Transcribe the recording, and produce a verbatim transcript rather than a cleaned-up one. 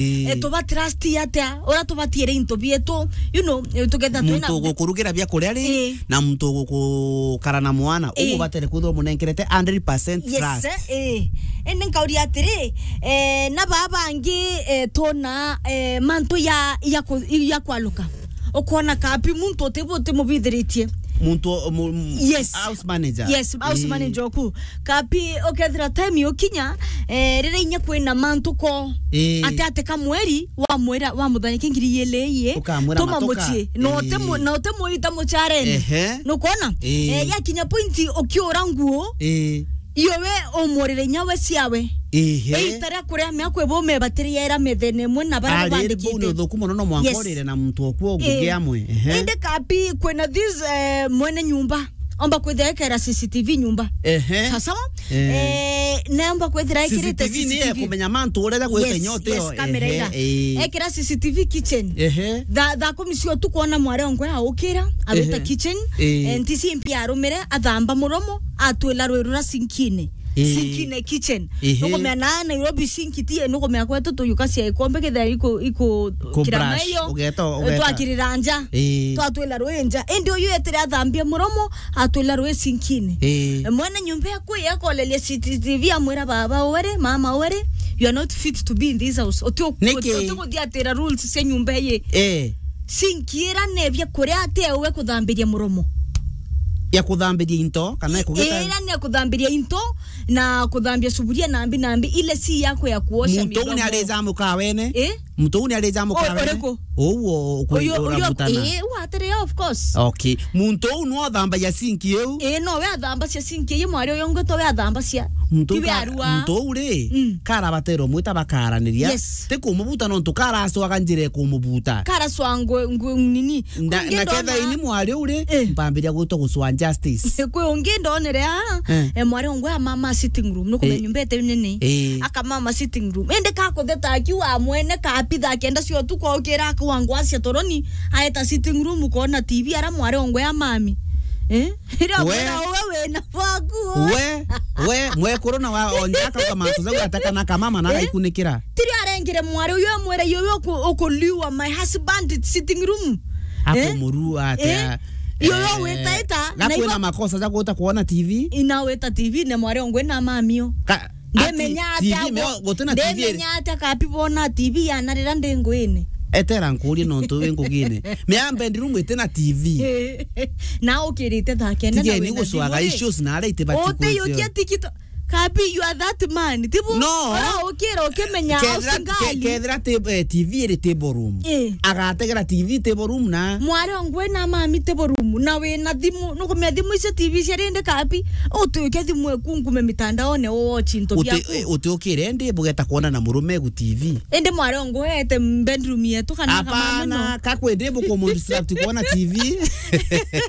Ii. Eh, tuba trust atia? Uria tubatiire into bietu, you know, eh, tugetha twina muntu ugukurugira bia kuria ri, ii, na muntu ugukara na mwana, ii, ugubatere kwithirwa umunenkerete hundred percent trust. Yes, eh. Indi nkauria atiri, eh, na baa bangi, eh, twona, eh, mantu ya, ya ku-, ya kwaluka. Ukona kapi muntu utibu utimubithiritie. Muntu o-, mu-, mu-, yes, house manager. Yes, house, ii, manager oku. Kapi ukethira time yukinya, eh, riria inya kwina mantu ko. Ii. Ati ati kamweri wamwira, wamuthania ki ngiri igiri ii, ukamwira tuma matuka mucii. No, ii, utimu-, na utimwita mucareni. Ehe. Nukwona? Ii. Eh, yakinya point ukiura nguo. Ii. Iyo we umurire inya we ciawe. Ehe. Iita ria kuria miaka ibu mebatiriera methene imwe na baria babandikite. Ari bau ni uthuku mono, no mwanka, yes, urire na muntu oku o ngugi amwe. Ehe. Indi kapi kwina this, eh, mwene nyumba omba kwithira ekera C C T V nyumba. Ehe. Sawa sawa? Eh. Eh, na omba kwithira ekirite C C T V. C C T V ni ya kumenya mantu uria ja gwita, yes, inya utio. Yes, kamera ira. Ehe, eh. Ekira C C T V kitchen. Ehe. Tha-, thaa kumi cia utuku ona mwari ongwe aukira, awita, ehe, kitchen. Eh. Eh, ntisi mpia arumire, athamba muromo, atwila rwi rura sinkine. Ii. Sinkine kitchen. Ehe. Nukumea na Nairobi sink tie, nukumea kwetu tuyuka cia ikombe kethira iku, iku ku kira brush, mayo, ugeta, ugeta, twakirira nja. Ii. Twatwila rwi nja. Indi uyu etire athambia muromo, atwila rwi sinkine. Ii. Mwene nyumba ekwi akoleria C C T V amwira, "Baba were, mama were, you are not fit to be in this house." Uti u-, niki? Uti, uti kuthiatira rules cia nyumba iyi. Ii. Sink ira nebia kuria ati ewe kuthambiria muromo. Ya kuthambiria into, kana i-, kugita- ira ni ya kuthambiria into na kuthambia suburia nambi nambi, ile si yako ya kuosha midomo. Muntu uu ni arija mukawene? Eh? Muntu uu ni arija mukawene? Uriku? Uu u-, uku-, uyu, uyu, urabutana. Eh, uu atiri, of course. Okay. Muntu uu no athambagia sink iu? Eh, no we athambacia sink iu, mwari uyu ungi to we athambacia. Muntu uu ka-, arua. Muntu uu ri, mm, karabatero mwita bakaraniria. Yes. Ti kumubuta nontu karacwaga njira ikumubuta. Karacwa ngu-, ngu-, nini? Na, na ketha ini mwari uu ri, eh, mpambiria gwitwa gucwa justice. Kwi ungi ndonere aa, eh, eh, mwari ongwe amama sitting room, nukumenya, eh, nyumba ite nini? Eh. Akamama sitting room. Indi kakutheta akiuga mwene kapi thaa kenda cia utuku aukira akauga ngwacia toroni, aeta sitting room kona T V ara mwari ongwe amami. Eh? Ira we, mwira uwe wina bwaku. We, we, mwekuru na wa onja akauga mantu jau atekana kamama na, eh, agaikunikira. Tirio arengire mwari uyu amwira, "Iyo we uku-, ukuliwa my husband sitting room." Eh? Akumurua atia? Eh? Iyo we, eh, witaita, na gakwina ibo- makosa ja guta kuona T V? Ina wita T V na mwari ongwe na mamio. Ka-, ndemenya ati T V atia meo-, gutina T V iri? Ndemenya atia kapi bona T V yana rira ndi nguine? Etera nkurie nontu wi ngugine. Mea bedroom itina T V. Na ukirite thaa kenda na wina thimũ ri? Tigeni gucwaga issues na aria itibati. Utiyukia tikito. Kabi, you are that man. Tibu? No. Ora ukira ukimenya kethira, usingali. Ke-, kethira ti-, eh, T V iri table room. Eh. Agategera T V table room na mwari ongwe na mami table room. Na wina thimu. Nukumenya thimu icio T V cia rindi kabi. Utuike thimu eku ngume mitandaone uwatch into biaku. Uti-, eh, utiukire ndi bugeta kuona na murume egu T V. Indi mwari ongwe ete bedroom yetu kana kamami no? Hapana, kakwe ndi bukumu distract kuona T V.